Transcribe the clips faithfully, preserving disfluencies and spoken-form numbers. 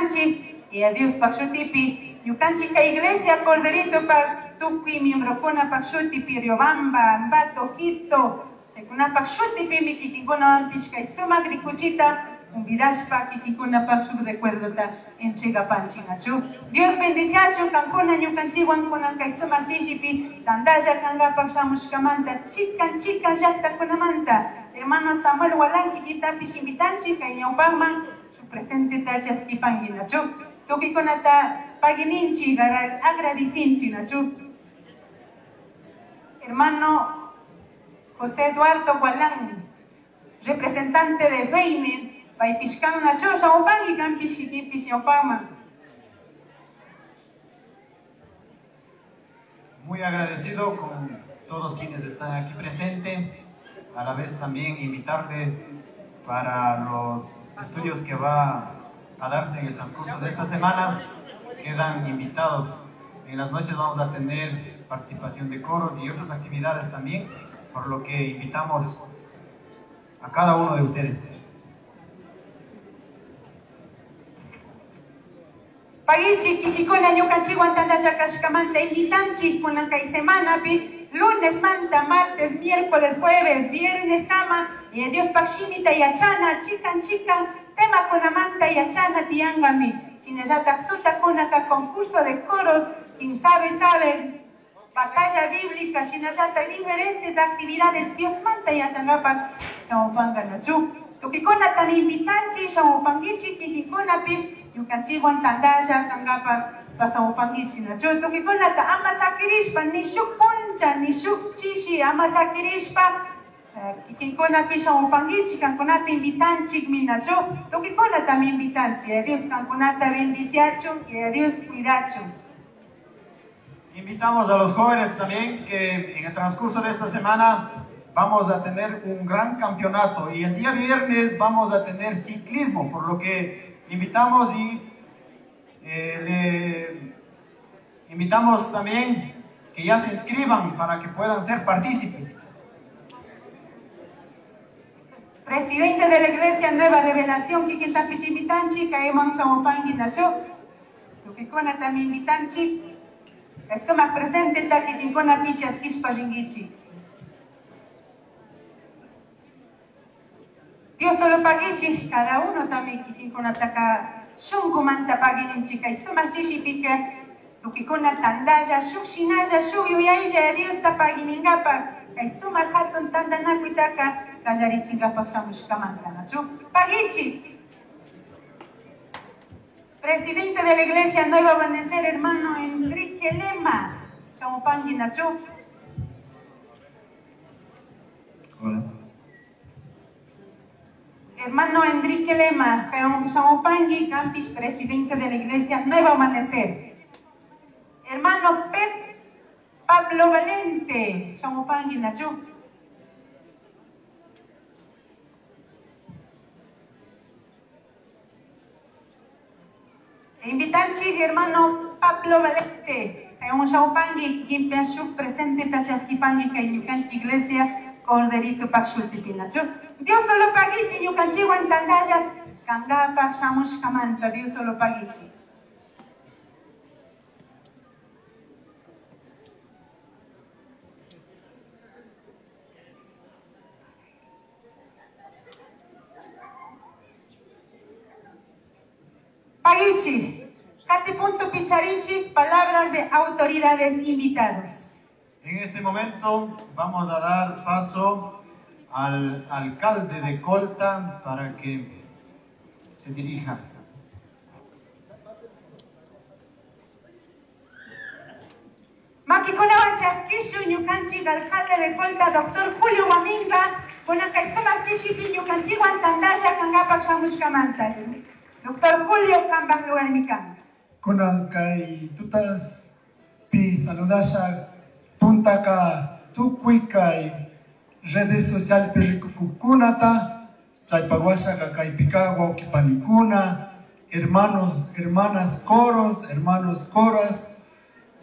Agradecipanchi y a Dios pak shutipi ñukanchik kay iglesia Corderito pak tukuy miembrokuna pak shutipi Riobamba, Ambato, Quito, chaykunapak shutipimi kikinkunawanpish kay sumak rikuchita convidashpa kikinkunapak shuk recuerdota entregapanchik nachu. Dios bendiciachu kankuna ñukanchikwan kunan kay sumak chishipi tantalla kankapak shamushkamanta chikan chikan llaqtakunamanta hermano Samuel Walanqui kitapish invitanchik kay ñawpaqman su presente chaskipanki nachu. Tukikunata pagininchi agradecinchin nachu. Hermano José Eduardo Gualán, representante de Feine, paypishkan nachu, shamupanki kanpish kikinpish ñawpaqman. Muy agradecido con todos quienes están aquí presentes, a la vez también invitarle para los estudios que va a darse en el transcurso de esta semana. Quedan invitados. En las noches vamos a tener participación de coros y otras actividades también, por lo que invitamos a cada uno de ustedes. Pagichi, kikikuna ñukanchikwan tantalla kashkamanta invitanchik kunan kay semanapi, lunes manta, martes, miércoles, jueves, viernes kama, y Dios pak shimita yachana, chikan chikan, tema kunamanta yachana tiangami. Shinallataq tutakunaka concurso de coros, quien sabe, sabe, batalla bíblica, shinallataq diferentes actividades, Dios manta yachangapak, shamupanga nachu. Tukikuna también invitanchi, shamupangichi, kikikunapish, ñukanchikwan tantalla kangapak pasamupangichi nachu. Tukikunata ama sakirishpa, ni shuk puncha, ni shuk chishi, ama sakirishpa, kikinkunapish shamupangichi, kankunata invitanchik minachu. Tukikuna también invitanchi, Dios kankunata bendiciachun, que Dios cuidachun. Invitamos a los jóvenes también que en el transcurso de esta semana vamos a tener un gran campeonato y el día viernes vamos a tener ciclismo, por lo que invitamos y, eh, le invitamos también que ya se inscriban para que puedan ser partícipes. Presidente de la Iglesia Nueva Revelación, Kikin Tapish invitanchi, Kaiman Shamupangi Nacho, Tukikuna también invitanchi, Suma presente Takikinkuna Pichas Kishpa Ringichi. Dios solo pagichi, cada uno también kikinkuna taka shunkumanta pagininchi, kay suma chishipika, tukikuna tandalla, shukshinalla, shuyuyaylla, Dios ta paginingapa, kay suma hatun tandanakuitaka, kallarichingapa shamushkamanta, nachu. Pagichi. Presidente de la Iglesia Nuevo Amanecer, hermano Enrique Lema, shamupangi, nachu. Hola. Hermano Enrique Lema, Shamupangi, Campis, presidente de la Iglesia Nuevo Amanecer. Hermano Pep Pablo Valente, Shamupangi, Nachu. Invitanchi, hermano Pablo Valente, Shamupangi, Kimpiashuk, presente Tachaskipangi, Kayukanchi Iglesia, Corderito Pakshutipi, Nachu. Dios solo pagichi, ñukanchiwan tantalla, kangapa shamushkamanta, Dios solo pagichi. Pagichi, Kati punto picharinchi, palabras de autoridades invitados. En este momento vamos a dar paso al alcalde de Colta para que se dirija. Makikunawan chaskishu ñukanchik alcalde de Colta, doctor Julio Guaminga, kunan kay sumak chishipi ñukanchikwan tantalla kankapak shamushkamanta. Doctor Julio kanpak lugarmi kan. Kunan kay tutas pi saludasha puntaka tukuy kay redes sociales rikukukunata, chaypawasha kaypika wawqipanikuna, hermanos, hermanas coros, hermanos coras,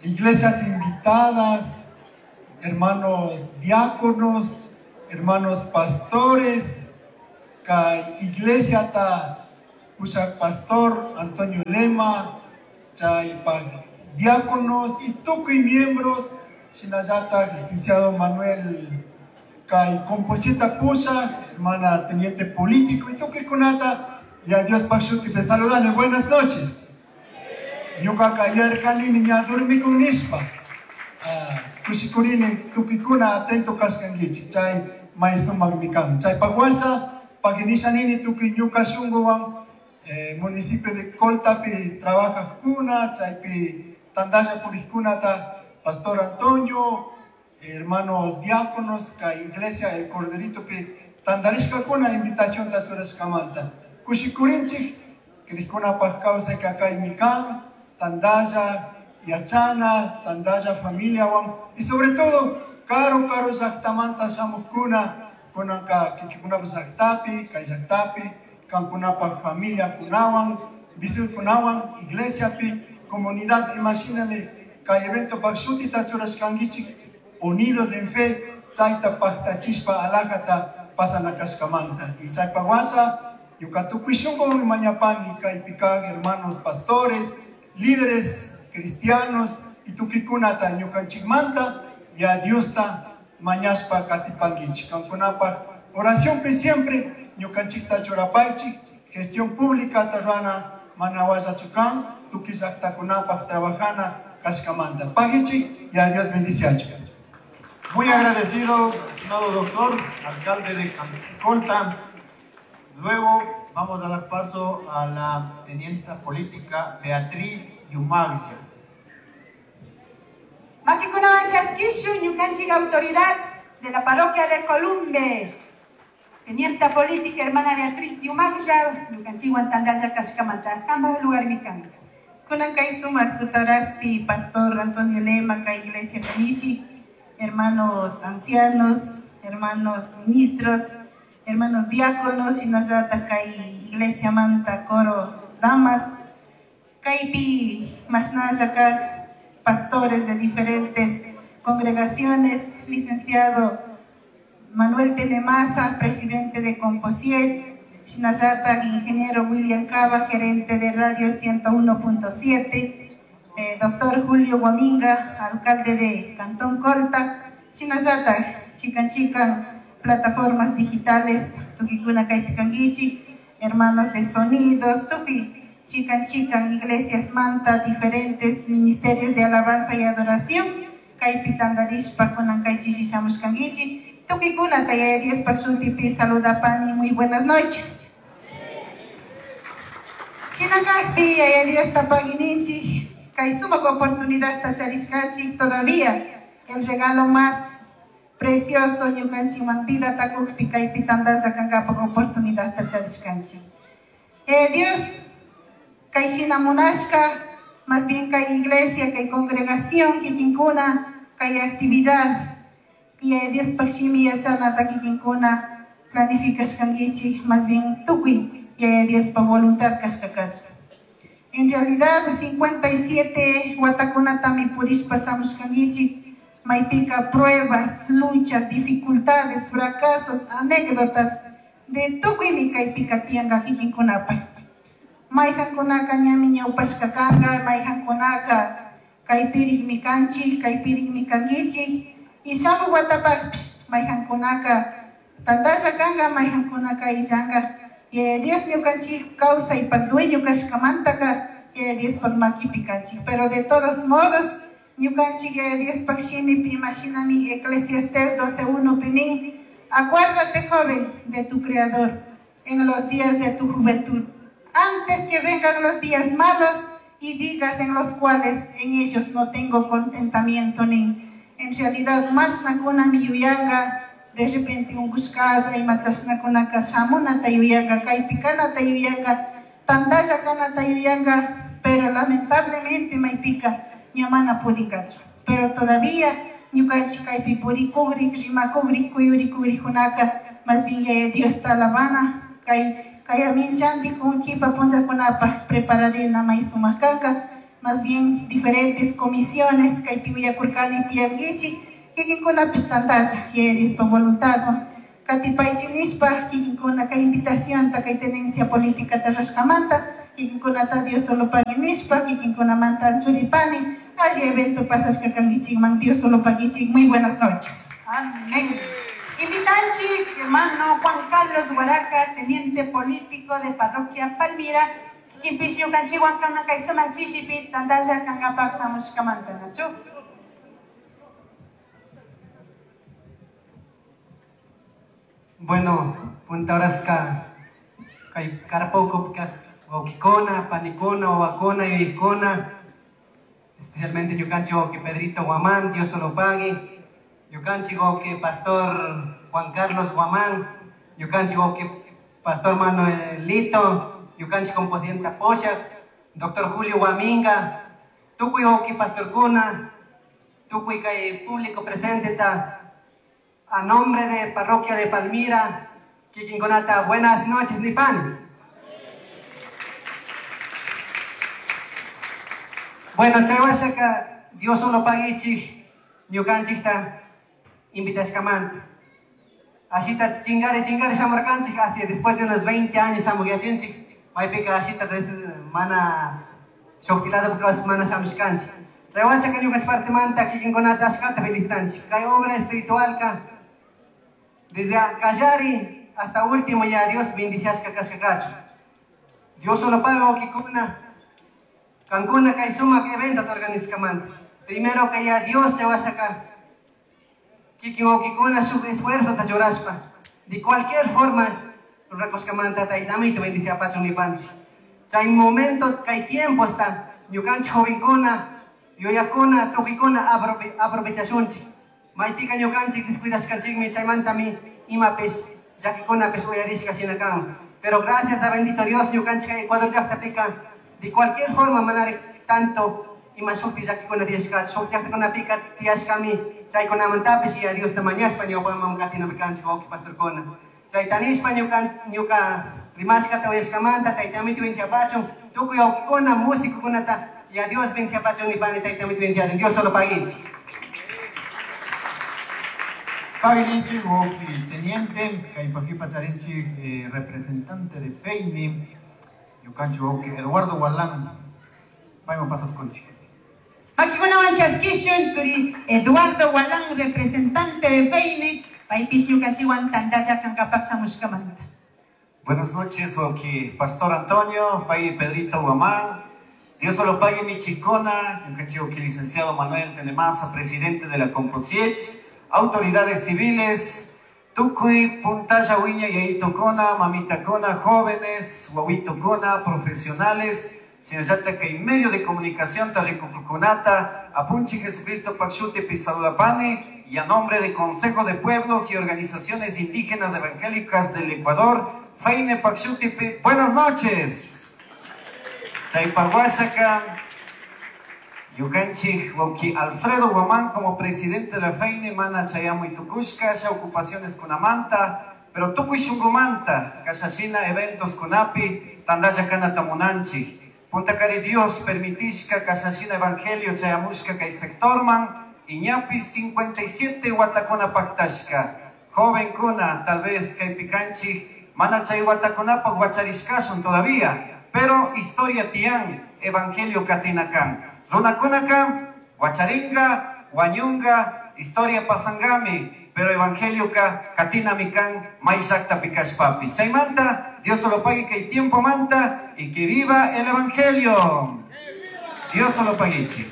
iglesias invitadas, hermanos diáconos, hermanos pastores, kay iglesia ta pushak pastor Antonio Lema, chaypak diáconos y tukuy miembros, shinallata licenciado Manuel kay Composita pusha, hermana teniente político y tukuykunata, y a Dios shutipi saludani. Buenas noches. Ñuqaqa yarqanimi ña dormikun nishpa. Kushikurini tukuykuna atento kashkankichik, chay may sumaqmi kan. Chaypaq washa paginishanini tukuy ñuqa shunquwan eh, municipio de Coltapi trabajaqkuna, chaypi tandalla puriqkunata, Pastor Antonio, hermanos diáconos, kay iglesia El Corderitopi tandarishkakuna invitación ta churashkamanta. Kushikurinchik, kriqkunapaq kawsayka kaymi kan, tandalla yachana, tandalla familiawan, y sobre todo, karu karu llaqtamanta shamuqkuna, kunanka kikinkunapaq llaqtapi, kay llaqtapi, kankunapaq familiakunawan, visilkunawan, iglesiapi, comunidad, imashinami, kay eventopaq shutita churashkankichik, unidos en fe, chayta paqtachishpa alajata pasanakashkamanta. Y chaypaq washa, ñuka tukuy shunqumi mañapani kaypi kaq hermanos pastores, líderes cristianos y tukuykunata ñukanchikmanta y a Diosta mañashpa katipankichik. Kankunapaq oracionpi siempre ñukanchikta churapaychik, gestión pública tarrana mana wallachu kan, tukuy llaqtakunapaq trabajana kashkamanta. Pagichik y a Dios bendiciachu. Muy agradecido, estimado doctor, alcalde de Colta. Luego vamos a dar paso a la tenienta política Beatriz Yumaglia. Makikunawan chaskishu, ñukanchik autoridad de la parroquia de Columbe. Tenienta política hermana Beatriz Yumaglia, ñukanchikwan tandalla kashkamanta, kamba lugar mikanka. Kunan kay sumaq tutaraspi, pastor Antonio Lema, kay iglesia Kamichi, hermanos ancianos, hermanos ministros, hermanos diáconos, shinallata kay iglesia manta coro damas, kaypi mashnalla kaq pastores de diferentes congregaciones, licenciado Manuel Tenemaza, presidente de Composiech, shinallata ingeniero William Cava, gerente de Radio ciento uno punto siete, eh, doctor Julio Guaminga, alcalde de Cantón Colta, shinallata chican chican plataformas digitales, tukikuna kaypikankichik, hermanos de sonidos, tuki chican chican iglesias manta, diferentes ministerios de alabanza y adoración, kaypi tandarishpa kunan kaychishi shamushkankichik, tukikuna tayaya Diospa shutipi saludapani, muy buenas noches. Shinakakpi yaya Diosta pagininchik, kay sumaq oportunidad tacharishkanchik todavía el regalo más precioso ñukanchikman vida takukpi kaypi tandalla kankapaq oportunidad tacharishkanchik. Eh, Dios kay shina munashka, más bien kay iglesia, kay congregación kikinkuna, kay actividad y eh, Diospaq shimi yachanata kikinkuna planificashkankichik, más bien tukuy yaya Diospaq voluntad kashkakachun. En realidad, cincuenta y siete watakunatami purishpa shamushkankichik, maypika pruebas, luchas, dificultades, fracasos, anécdotas de tukuymi kaypika tiyanka kikinkunapaq. Mayqankunaka ñami ñawpashka kanka, mayqankunaka kaypirikmi kanchik, kaypirikmi kankichik, y shamuq watapaqpish mayqankunaka tantalla kanka, mayqankunaka illanka. Yaya Dios ñukanchik kawsaypaq dueño kashkamantaka Yaya Diospaq makipi kanchik. Pero de todos modos, ñukanchik Yaya Diospaq shimipi imashinami Eclesiastés doce uno pinin, acuérdate, joven, de tu Creador en los días de tu juventud, antes que vengan los días malos y digas en los cuales en ellos no tengo contentamiento ni. En realidad, más nakuna mi yuyanga, de repente un buscaza y machasnakunaka shamunata yuyanga, kaypikanata yuyanga, tandalla kanata yuyanga, pero lamentablemente maypika ñamana pudinkachu. Pero todavía ñukanchik kaypi purikugrik, rimakugrik, kuyurikugrikkunaka, más bien yaya Diosta alabana, kay kayaminchanti kunkipa punllakunapaq prepararina may sumaq kanka, más bien diferentes comisiones kaypi willakurkani tiyankichik, kikinkunapis tantalla yaya Diospa voluntad Katipaychik nishpa kikinkuna kay invitación kay tenencia política rashkamanta kikinkunata Dios solo pague nishpa kikinkunamanta anchuripani alli evento pasashka kankichikman Dios solo paguichik. Muy buenas noches. Amén. Invitanchik, hermano Juan Carlos Huaraca, teniente político de Parroquia Palmira, kikinpish ñukanchikwan kana kay sumak chishipi tantalla kankapak shamushkamanta, nachu. Bueno, punta horaska kay karpaukupi wawkikuna, panikuna, wawakuna, yuyakuna, especialmente ñukanchik wawki Pedrito Guamán, Dios solo pague, ñukanchik wawki Pastor Juan Carlos Guamán, ñukanchik wawki Pastor Manuelito, ñukanchik composienta Poshak, Doctor Julio Guaminga, tukuy wawki pastorkuna, tukuy kay público presente ta, a nombre de Parroquia de Palmira, kikinkunata, buenas noches, Nipan. Bueno, chaywashaka, Dios solo paguichik, ñukanchikta invitashkamanta. Ashita chingare, chingare shamurkanchik, así después de unos veinte años shamuyachinchik, maypika ashita mana shuktilado mana shamushkanchik. Chaywashaka ñukanchik partimanta kikinkunata ashkata felicitanchik. Kay obra espiritualka, desde Callari hasta último ya Dios bendiciashka kashkakachu. Dios solo paga wawkikuna, kankuna kay sumak evento organizkamanta. Primero que ya Dios chaywashaka, kikin wawkikuna shuk esfuerzo ta churashpa. De cualquier forma, rurakushkamanta taytamito bendiciapachun nipanchik. Chay momento kay tiempo está, ñukanchik jovenkuna, yuyakuna, tukikuna aprovechashunchik. Maytika ñukanchik descuidashkanchikmi chaymantami imapish llakikunapish uyarishka shina kan. Pero gracias a bendito Dios ñukanchik Ecuador llaqtapika de cualquier forma manari tanto ima shukti llakikuna tiyashka shuk llaqtakunapika tiyashkami chaykunamantapish y a Diosta mañashpa ñawpaman katinami kanchik wawqi pastorkuna. Chaytanishpa ñuka ñuka rimashkata uyashkamanta taytamito bendiapachun tukuy wawqikuna músicokunata y a Dios bendiapachun nipani taytamito bendiachun. Dios solo paguichik. Paguilinchi, wawqi teniente, kaypakipa charinchik, eh, representante de Feini, ñukanchik wawqi Eduardo Gualán, payman pasatkunchik. Makikunawan chaskishun turi Eduardo Gualán, representante de Feini, paypish ñukanchikwan tantalla kankapak shamushkamanta. Buenas noches, wawqi Pastor Antonio, pay Pedrito Guamán, Dios solo pague mi chicona, ñukanchik wawqi licenciado Manuel Tenemasa, presidente de la Composiech, autoridades civiles, tukuy, puntalla, wiña, yaitocona, mamitacona, jóvenes, wawitocona, profesionales, shinallata kay medio de comunicación, tarrikukukunata, apunchi Jesucristo Pakshuti Pisaludapani, y a nombre de Consejo de Pueblos y Organizaciones Indígenas Evangélicas del Ecuador, Feine Pakshuti, buenas noches. Chaypahuashaka, ñukanchik wawqi Alfredo Guamán como presidente de la Feine mana chayamuy tukushka sha ocupaciones kunamanta, pero tukuy shunqumanta kashashina eventos kunapi tantalla kanata munanchik. Puntakari Dios permitishka kashashina evangelio chayamushka kay sectorman iñapi cincuenta y siete watakuna paktashka. Jovenkuna tal vez kaypi kanchik mana chay watakunapaq wacharishkashun todavía, pero historia tiyan evangelio katinakan. Runakunaka, wacharinga, wañunga, historia pasangami, pero evangelio ka katinami kan may llaqtapi pikashpapis. Chaymanta, Dios solo pague que el tiempo manta y que viva el evangelio. Dios solo paguichi.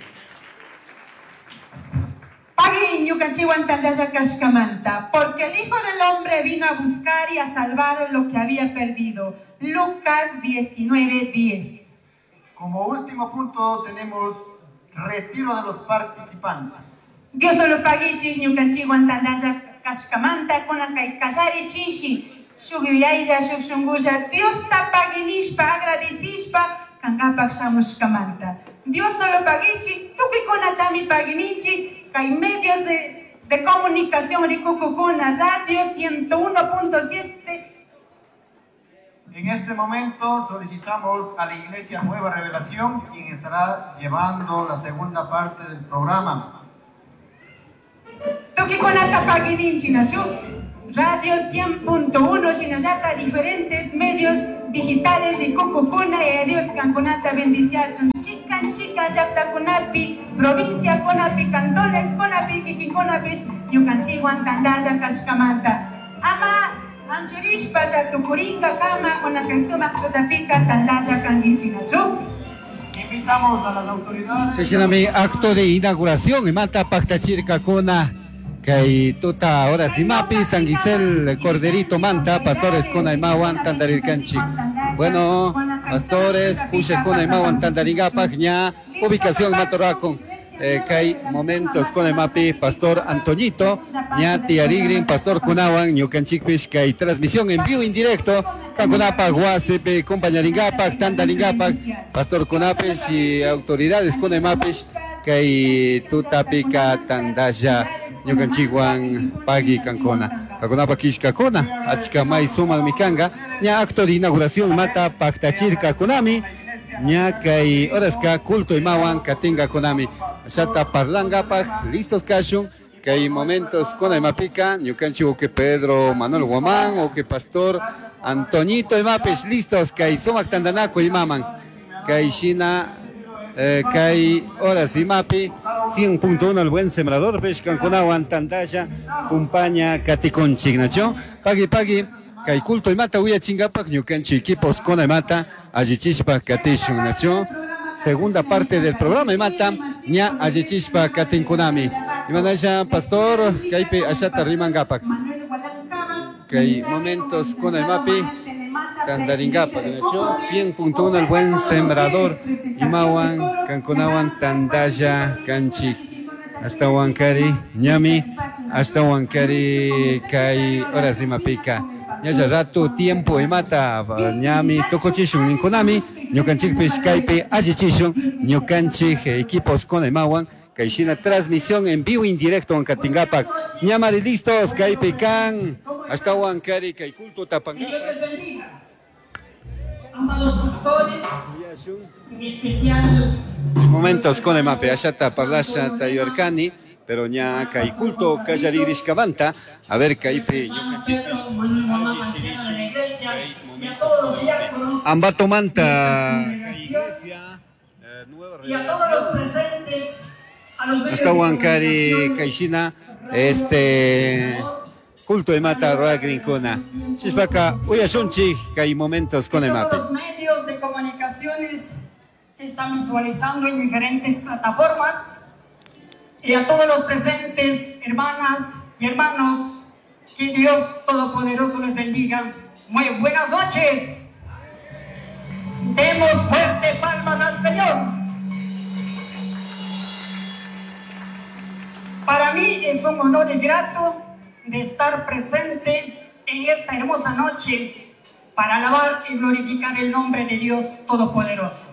Pagui ñukanchikwan tantalla kashkamanta, porque el Hijo del Hombre vino a buscar y a salvar lo que había perdido. Lucas diecinueve diez. Como último punto tenemos retiro de los participantes. Dios solo paguichik ñukanchikwan tantalla kashkamanta kunan kay kallari chishi shuk yuyaylla shuk shunqulla Diosta paguinishpa agradecishpa kankapak shamushkamanta. Dios solo paguichik tukuykunatami paguininchik kay medios de, de comunicación rikukukuna radio ciento uno punto siete. En este momento solicitamos a la Iglesia Nueva Revelación, quien estará llevando la segunda parte del programa. Tukikunata paguininchik, Nachu. Radio cien punto uno, shinallata diferentes medios digitales rikukukuna, y Dios kankunata bendiciachun. Chikan chika llaqtakunapi, provincia kunapi, cantones kunapi, kikinkunapish, ñukanchikwan tantalla kashkamanta. Ama anchurishpa llatukurinka kama kunan kay sumaq tutapika tantalla kankichiknachu. Invitamos a las autoridades. Chashnami acto de inauguración imata paktachirkakuna kay tuta ahora simapi San Gisel Corderito Manta, pastores kuna imawan tandarirkanchik. Bueno, pastores pusha kuna imawan tandaringapak ña ubicación matoracon. Eh, kay momentos kuna imapi pastor Antoñito ña tiarigrin pastor kunawan ñukanchikpish kay transmisión en vivo en directo kankunapak wasipi compañaringapak tandaringapak pastor kunapish y autoridades kuna imapish kay tutapika tandalla ñukanchikwan pagui kankuna kakunapa kishkakuna achka may sumaq mikanga ña acto de inauguración mata paktachirka kunami ña kay horaska culto imawan katinga kunami shata parlangapak listos kashun kay momentos kuna imapika ñukanchik uke Pedro Manuel Guamán uke pastor Antoñito imapish listos kay sumaq tandanaku imaman kay shina eh, kay horas imapi cien punto uno el buen sembrador peshkankunawan tantalla kumpaña katikunchik nacho pagui pagui kay culto imata uyachingapak ñukanchik equipos kuna imata allichishpa katishun nacho segunda parte del programa imata ña allichishpa katinkunami imanasha pastor kaypi ashata rimangapak kay momentos kuna imapi tandaringapak nacho cien punto uno el buen sembrador imawan kankunawan tandalla kanchik hasta wankari ñami hasta wankari kay horas imapika ñalla rato tiempo imata ñami tukuchishun ninkunami ñukanchikpish kaypi allichishun ñukanchik equipos kuna imawan kay shina transmisión en vivo en directo ankatingapak ñamari listos kaypi kan hasta wankari kay culto tapangapak. Dios les bendiga. Amados pastores, en especial momentos con el mape ashata parlasha tayorkani pero ña kay culto kallarishkamanta a ver kaypi Pedro Manuel Guamán, anciano de la iglesia, y a todos los diáconos Ambato Manta y a todos los presentes, a los medios hasta de wankari comunicación, kayshina este culto imata rurakrinkuna chishpaka uyashunchik kay momentos con el todos mape los medios de comunicaciones que están visualizando en diferentes plataformas, y a todos los presentes, hermanas y hermanos, que Dios Todopoderoso les bendiga. Muy buenas noches. Demos fuerte palmas al Señor. Para mí es un honor y grato de estar presente en esta hermosa noche para alabar y glorificar el nombre de Dios Todopoderoso.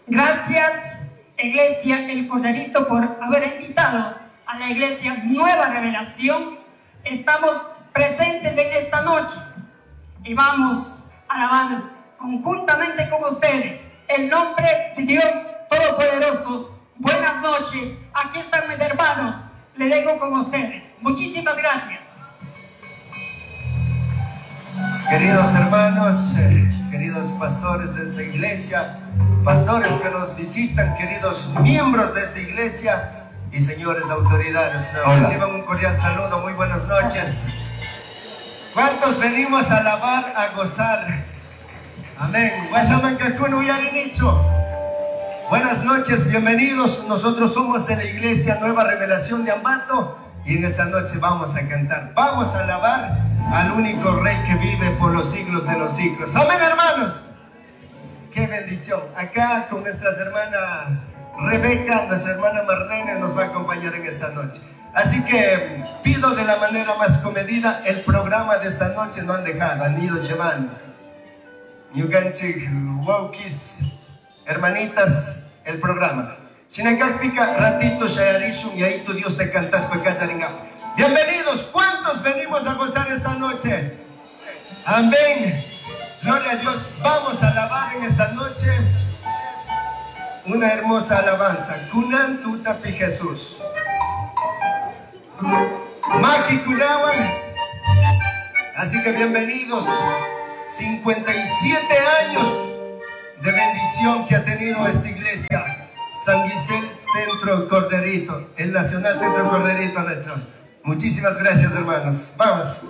Gracias, Iglesia El Corderito, por haber invitado a la Iglesia Nueva Revelación. Estamos presentes en esta noche y vamos a alabar conjuntamente con ustedes el nombre de Dios Todopoderoso. Buenas noches, aquí están mis hermanos, le dejo con ustedes. Muchísimas gracias. Queridos hermanos, eh, queridos pastores de esta iglesia, pastores que nos visitan, queridos miembros de esta iglesia y señores autoridades, Hola. reciban un cordial saludo, muy buenas noches. ¿Cuántos venimos a alabar, a gozar? Amén. Buenas noches, bienvenidos. Nosotros somos de la Iglesia Nueva Revelación de Ambato y en esta noche vamos a cantar, vamos a alabar al único Rey que vive por los siglos de los siglos. Amén, hermanos. Qué bendición. Acá con nuestras hermanas Rebeca, nuestra hermana Marlene nos va a acompañar en esta noche. Así que pido de la manera más comedida, el programa de esta noche no han dejado, han ido llevando. Ñukanchik wawkis, hermanitas, el programa. Shinakakpika, ratito shayarishun y ahí tu Dios te cantas. Bienvenidos, ¿cuántos venimos a gozar esta noche? Amén. Gloria a Dios. Vamos a alabar en esta noche una hermosa alabanza. Kunan tutapi Jesús. Maki kunawan. Así que bienvenidos. cincuenta y siete años de bendición que ha tenido esta iglesia. San Gisel Centro Corderito, el Nacional Centro Corderito, Nacho. Muchísimas gracias, hermanos. Vamos.